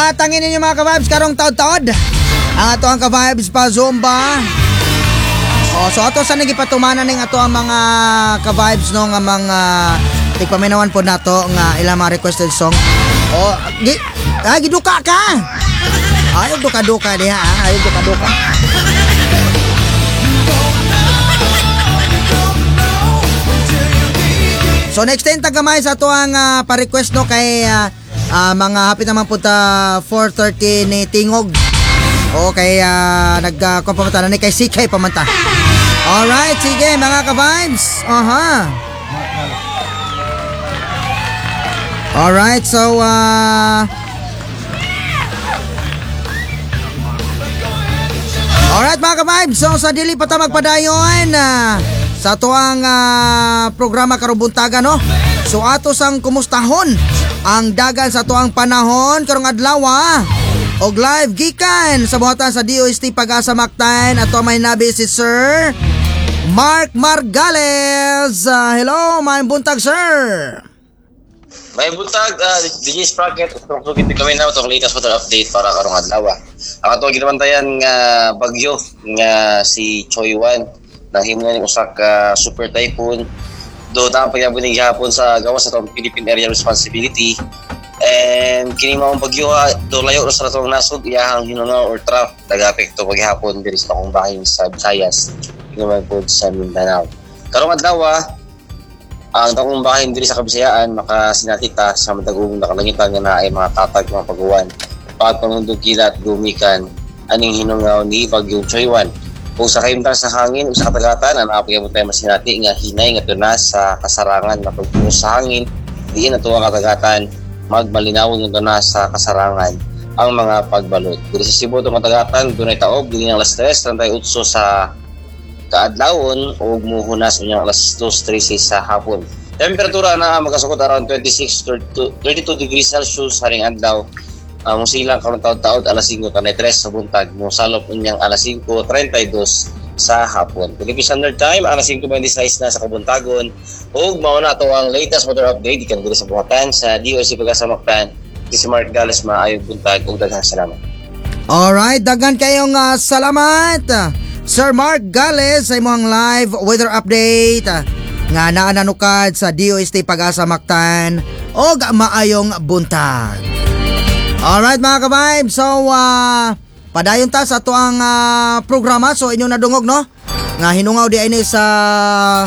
Hatangin ninyo, mga ka-vibes, karong taod-taod. Ang ato ang ka-vibes pa Zumba. Oh, so ato sa nagipatumanan ning ato ang mga ka-vibes, no, nga mga tigpaminawan po nato nga ilang mga requested song. Oh, giduka ka. Ayaw duka-duka diha, ah. Ayaw duka-duka. So next time tagamay sa ato ang pa-request, no, kay mga hapit naman punta 4:30 ni Tingog. O kay nag uh, na ni kay CK pamanta. Alright, sige, mga ka-vibes. Aha. Alright, so alright, mga ka-vibes, so sa dili pa ta magpadayon sa ato ang programa karong buntaga, no. So ato sang kumustahon ang dagan sa ato ang panahon karong adlaw og live gikan sa buhatan sa DOST Pag-asa Mactan, ato may nabi si Sir Mark Margales. Hello, maayong buntag, sir. May buntag, DJ Sprocket, sugid kami na itong latest weather update para karong adlaw. Ang ato ginabantayan nga bagyo nga si Choi Wan, nahimo na ni usa ka super typhoon do na pagyabon ni gihapon sa gawas sa atong Philippine Area Responsibility, and kini maong bagyo ha, do layo ra sa atong nasod, iyahang hinungaw or trough nagapekto paghapon diri sa akong bahin sa Visayas naman pod sa Mindanao. Karong adlaw, ang dakong bahin diri sa Kabisayaan makasinati ta sa matag-ugong nakalangitan nga naay mga tatag mga paguwan pagpangundog kilat gumikan aning hinungaw ni Bagyong Choywan. Ug sa kahimtang sa hangin ug sa katagatan, ang naapagabot tayo masinati nga hinay nga tuna sa kasarangan na pagpunos sa hangin diin ato ang katagatan magmalinawon nga tuna sa kasarangan ang mga pagbalot. Diri sa Cebu itong katagatan dunay taob dinhi ang alas 3:38 sa kaadlawon ug muhunas unyang alas 2:13 sa hapon. Temperatura na magasukot around 26 to 32 degrees Celsius haring adlaw. Musilang karon taod-taod alas 5:33 sa buntag, mosalop unyang alas 5:32 sa hapon. Philippine Standard Time, alas 5:26 na sa kabuntagon. Ug mao na to ang latest weather update gikan diri sa buhatan sa DOC Pag-asa Mactan. Si Mark Gales, maayong buntag ug daghang salamat. Alright, daghan kayong salamat, Sir Mark Gales, sa imong live weather update nga naa nanukad sa DOST Pag-asa Mactan og maayong buntag. Alright, mga ka-vibe, so padayon ta sa ato ang programa. So inyong nadungog, no, nga hinungaw di ay ni sa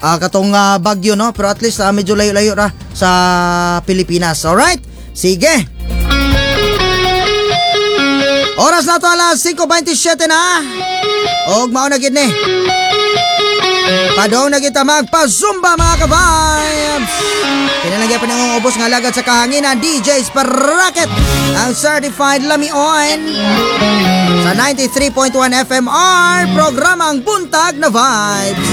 katong bagyo, no, pero at least medyo layo-layo ra sa Pilipinas. Alright, sige. Oras na to alas 5:27 na. Og mao na gid ni. Padong na kita magpa-zumba, mga ka-vibes. Kinalagyan pa ng ubos nga alagad sa kahanginan, DJ Sprocket, ang certified lamion sa 93.1 FMR, programang Buntag na Vibes.